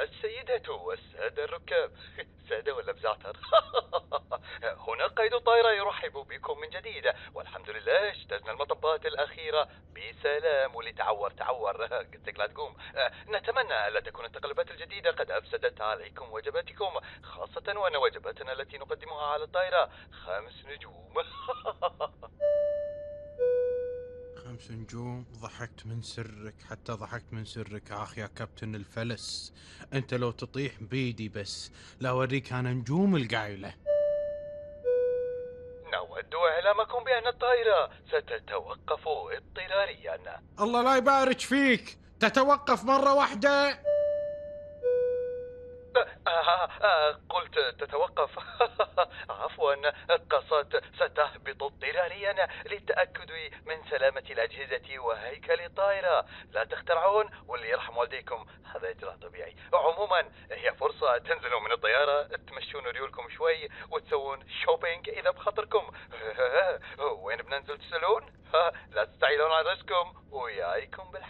السيدة والسادة الركاب. سادة ولا بزعتر؟ هنا قيد الطائرة يرحب بكم من جديد، والحمد لله اجتزنا المطبات الأخيرة بسلام. واللي تعور قلت لك لا تقوم. نتمنى ألا تكون التقلبات الجديدة قد أفسدت عليكم وجباتكم، خاصة وأن وجباتنا التي نقدمها على الطائرة 5 نجوم. 5 نجوم؟ ضحكت من سرك، حتى ضحكت من سرك. آخ يا كابتن الفلس، أنت لو تطيح بيدي بس لا أوريك أنا نجوم القايلة. نود إعلامكم بأن الطائرة ستتوقف اضطراريا. الله لا يبارك فيك، تتوقف مرة واحدة. قلت تتوقف. عفوا، قصدت ستهبط اضطراريا للتأكد من سلامة الأجهزة وهيكل الطائرة. لا تخترعون، واللي يرحم والديكم هذا إجراء طبيعي. عموما هي فرصة تنزلوا من الطيارة، تمشون ريولكم شوي وتسوون شوبينج إذا بخاطركم. وين بننزل تسألون؟ لا تستعيلون على رزقكم ويايكم بالحج.